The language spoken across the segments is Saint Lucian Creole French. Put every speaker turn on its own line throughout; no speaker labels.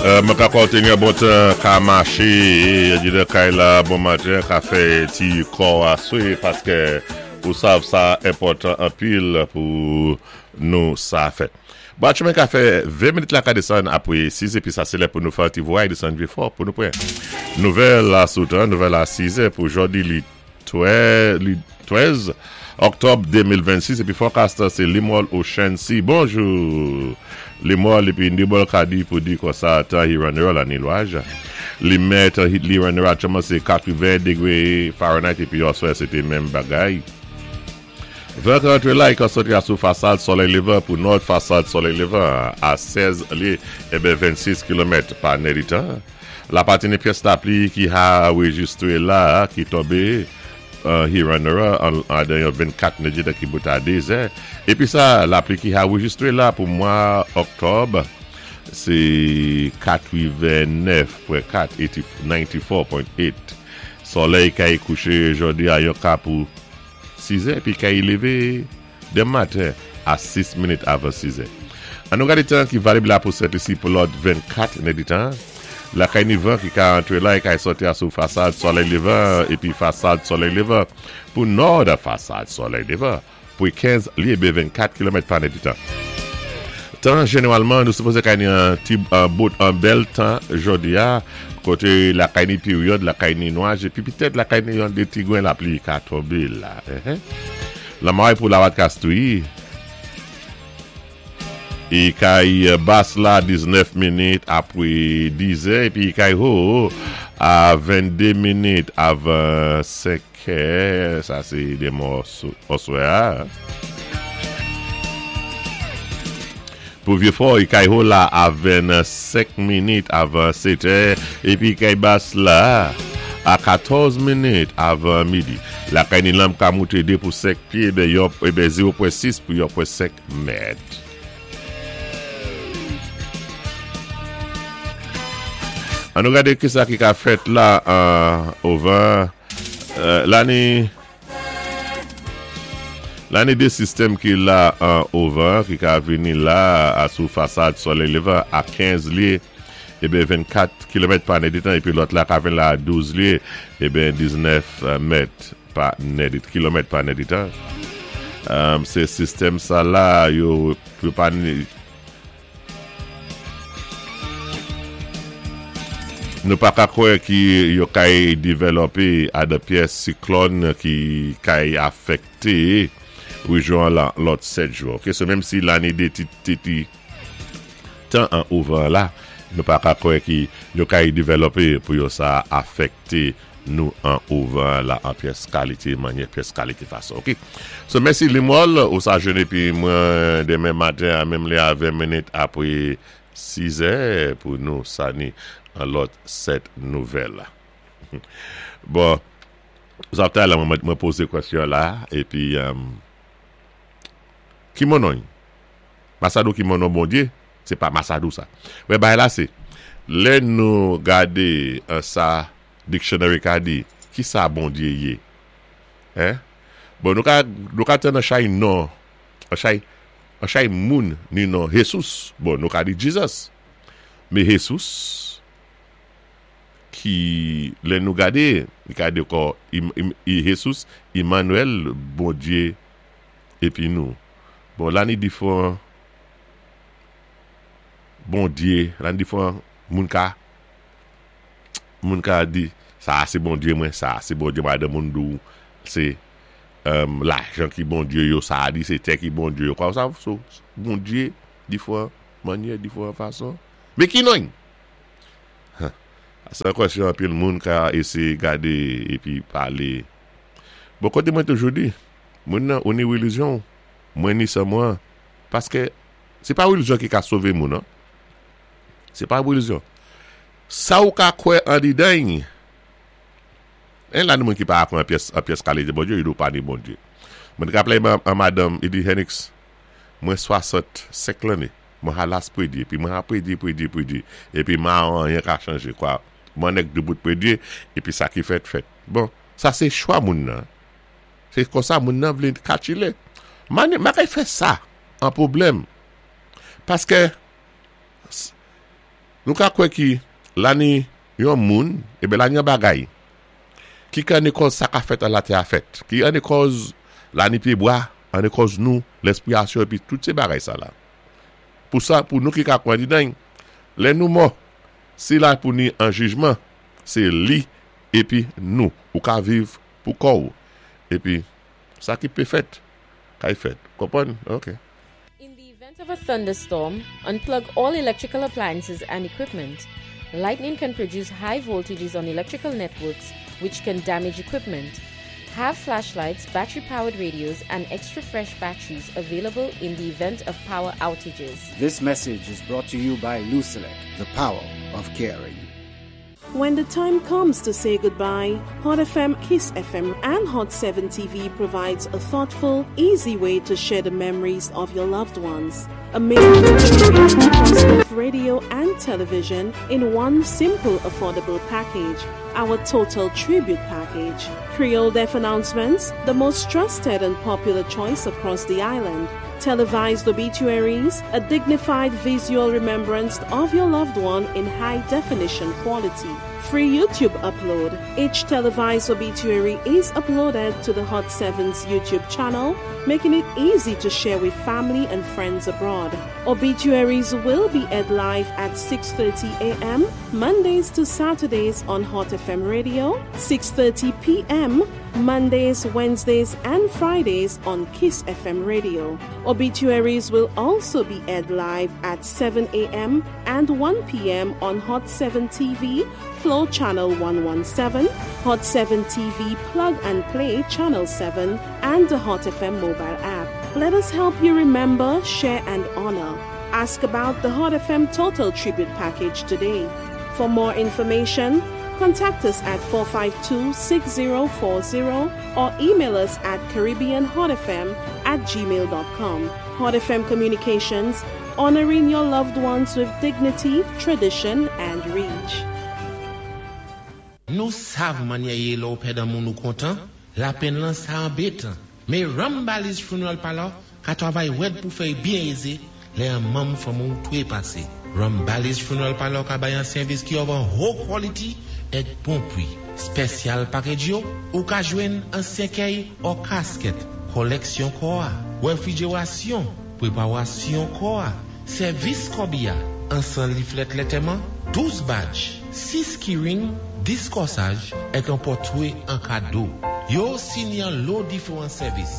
Mwen ka kontinye bon tan ka mache andedan kay la bon maten ka fè ti kò a swe paske ou sav sa enpòtan anpil pou nou sa fè. Bon atchoumen ka fè 20 minit la ka desann apre 6 epi sa se lè pou nou fè ti vway desann Vyefò pou nou pran nouvèl la sou tan nouvèl la 6 è pou jòdi li 13 Oktòb 2026 epi forecast se Limòl Ocean Sea Bonjou Limòl epi Nibòl ka di pou di konsa tan Hiranera la ni lwaj li mèt hit Hiranera aktyèlman se 80 degre Fahrenheit epi oswè se te menm bagay Van ka antre la e ka soti a sou fasad solèy levan pou nòd fasad solèy levan a 16 lye eben 26 kilomèt pa nèditan. Lapatini pyès lapli ki anrejistre la ki tonbe Hiranura andan yon 24 nèditan ki bout a 2 zè. Epi sa lapli ki anrejistre la pou mwa Oktòb se 89.4, 94.8. Solèy kay kouche jodi a yon ka pou 6 zè epi kay leve Demen maten a 6 minit avan 6 è. An nou gade tan ki valib la pou Sent Lisi pou lòt 24 nèditan. Lakay ni van ki ka antre la e kay sòti a sou fasad solèy levan epi fasad solèy levan pou nòd fasad solèy levan pou 15 lye be 24 kilomèt pa nèditan. Tan jeneralman nou sipoze kay ni an ti an bout an bèl tan jodi a kote lakay ni peryòd lakay ni nwaj epi petèt lakay ni yon de ti gren lapli ka tonbe la. Lanmay pou Lawat Kastri e kay Bas la 19 minit apre 10 è epi kay Ho a 22 minit avan 5 è sa se demen oswè a. Pou Vyefò, kay Ho la a 25 minit avan 7 è epi kay Bas la a 14 minit avan midi. Lakay Nilanm ka moute 2 pou 5 pye eben yon eben 0.6 pou 1.5 mèt. An nou gade kisa ki ka fèt la an ovan lane. Lane 2 sistèm ki la an ovan ki ka vini la a sou fasad solèy levan a 15 lye eben 24 kilomèt pa nèdetan epi lòt la ka vin la a 12 lye eben 19 mèt pa nède kilomèt pa nèdetan. Se sistèm sa la yo pa Nou pa ka kwè ki yo kay divèlòpe adan pyès siklòn ki kay afèkte rejyon an lan lòt 7 jou. Ok, so menm si lane de ti ti ti tan an ouvan la, nou pa ka kwè ki yo kay divèlòpe pou yo sa afèkte nou an ouvan la an pyès kalite manyè pyès kalite fason ok so mèsi limòl ou sa jwenn epi mwen demen maten a menm lè a 20 minit apre 6 è pou nou sa ni an lòt 7 nouvèl bon zòtay la mwen poze kwèsyon la epi ki monòy masadou ki monon bondye Se pa Masadou sa. Men bagay la se, lè nou gade sa dictionary ka di, ki sa Bondye ye? Hein? Bon nou ka, nou ka tann an chay non, an chay, an chay moun ni non Jesus. Bon nou ka di Jesus. Men Jesus ki lè nou gade, li ka di kò Jesus, Emmanuel, Bondye epi nou. Bon la ni difran Bondye la ni difran moun ka moun ka di sa a se Bondye mwen sa a se Bondye mwen adan moun di w se lajan ki Bondye yo sa a di se tè ki Bondye yo kwa sa so Bondye difran manyè difran fason men ki nonyn sa se yon kwèsyon anpil moun ka eseye gade epi pale bon kote mwen toujou di moun nan ou ni relijyon w Mwen ni san mwen paske se pa relijyon ki ka sove moun non se pa relijyon sa ou ka kwè andidan y en la ni moun ki pa kwè an pyès an pyès kalite Bondye yo di ou pa ni Bondye mwen te ka play an madanm li di Henix mwen 65 lanne mwen halas predye epi mwen ha predye predye predye epi ma anyen ka chanje kwa mwen nèk debout predye epi sa ki fèt fèt bon sa se chwa moun nan. Se konsa moun nan vle katchile. Mane makay fè sa an pwoblèm. Paske. Nou ka kwè ki la ni yon moun, eben la ni yon bagay ki ka ni kòz sa ka fèt an latè a fèt, ki an ni kòz la ni pyebwa, an ni kòz nou, lèspirasyon epi tout se bagay sa la. Pou sa, pou nou ki ka kwè didan, lè nou mò, si la pou ni an jijman, se li epi nou. Ou ka viv pou kò ou. Epi sa ki pe fèt, kay fèt. Konprann? Ok.
In the event of a thunderstorm, unplug all electrical appliances and equipment. Lightning can produce high voltages on electrical networks, which can damage equipment. Have flashlights, battery powered radios, and extra fresh batteries available in the event of power outages.
This message is brought to you by Lucelec, the power of caring.
When the time comes to say goodbye, Hot FM, Kiss FM, and Hot 7 TV provides a thoughtful, easy way to share the memories of your loved ones. Amazing across both radio and television in one simple, affordable package. Our Total Tribute Package. Creole Deaf announcements, the most trusted and popular choice across the island. Televised obituaries, a dignified visual remembrance of your loved one in high definition quality. Free YouTube upload. Each televised obituary is uploaded to the Hot 7's YouTube channel, making it easy to share with family and friends abroad. Obituaries will be aired live at 6:30 a.m. Mondays to Saturdays on Hot FM Radio, 6:30 p.m. Mondays, Wednesdays, and Fridays on Kiss FM Radio. Obituaries will also be aired live at 7 a.m. and 1 p.m. on Hot 7 TV, Flow Channel 117, Hot 7 TV Plug and Play Channel 7, and the Hot FM mobile app. Let us help you remember, share, and honor. Ask about the Hot FM Total Tribute Package today. For more information, contact us at 452 6040 or email us at CaribbeanHotFM at gmail.com. Hot FM Communications, honoring your loved ones with dignity, tradition, and reach.
Nou sav mannyè yé lè-w pèd an moun ou kontan, lapenn lan sa anbetan. Mé Rambali's Funeral Parlor ka twavay wèd pou fè-y byen ézé lè an manm fanmi-w twe pasé. Rambali's Funeral Parlor ka bay an sèvis ki of an ho quality èk bon pwi. Spèsyal package yo, ou ka jwenn an sèkèy or casket, kòlèksyon kò-a, wèfrijerasyon, pwépawasyon kò-a, sèvis kòbi-a, ansan liflèt lètèman, 12 badge, 6 keyring, 10 kòsaj, èk an pòtwé an kado. Yo osi ni an lo diféwan sèvis.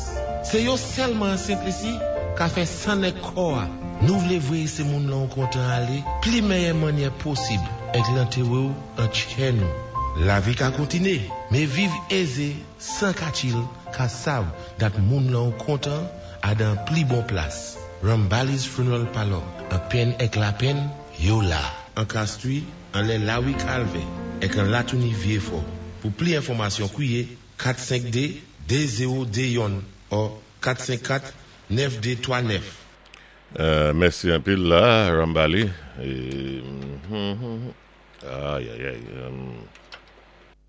Sé yo sèlman an Sentlisi ka fè nèg kò-a. Nou vlé vwéyé sé moun lan ou kontan alé pli mèyè mannyè posib èk lantéwé-w an tchè nou. Lavi ka kontiné, mé viv ézé 100 ka chill ka sav dat moun lan ou kontan a dan pli bon plas. Rambali's Funeral Parlor, an penn èk lapenn, yo la. An Castries, anlè Lawi Kalvè, èk an Latouni Vyéfò. Pou pli enfòmasyon kwiyé 452 2021 or 454 9239.
Mèsi anpil la Rambali. Ayayay.